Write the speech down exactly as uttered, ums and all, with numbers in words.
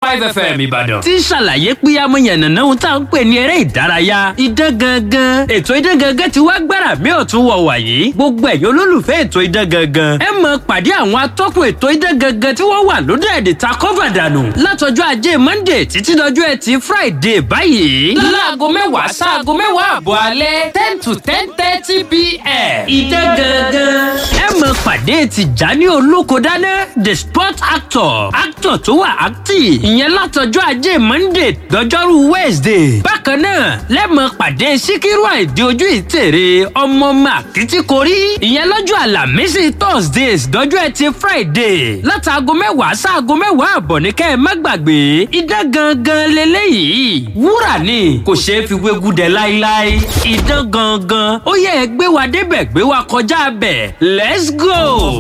Five F M Ìbàdàn tí ń ṣàlàyé pé amúyànnàná ohun tá à ń pè ní eré ìdárayá idán gangan. Ètò idán gangan ti wá gbára mi ọ̀tún wọ̀ wàyí. Gbogbo ẹ̀yin olólùfẹ́ ètò idán gangan, ẹ mọ̀ pàdé àwọn atọ́kùn ètò idán gangan tí wọ́n wà lóde ẹ̀dẹ̀ ta kọ́fà dànù látọjọ́ ajé Monday títí dọjọ́ ẹtì Friday báyìí. Láago mẹ́wàá sáago mẹ́wàá àbọ̀ alẹ́, ten to ten thirty p m. Idán gangan. Ẹ mọ̀ pàdé Tìjání Olókodáná, the sport actor, actor tó wà active, ìyẹn látọjọ́ ajé Monday dọjọ́rú Wednesday. Bákan náà lẹ́mọ̀ pàdé Síkírù Àìdí ojú ìtèrè, ọmọ ọmọ àkìtìkorí, ìyẹn lọ́jọ́ Àlàmísì Thursdays dọjọ́ ẹtì Friday látàgọ́ mẹ́wàá sáàgọ́ mẹ́wàá àbọ̀ ní kẹ́ ẹ má gbàgbé. Idán gangan leléyìí, wúrà ni, kò ṣeé fi wégúdẹ láíláí. Idán gangan, ó yẹ ẹ gbé wa débẹ̀, gbé wa kọjá bẹ̀, let's go.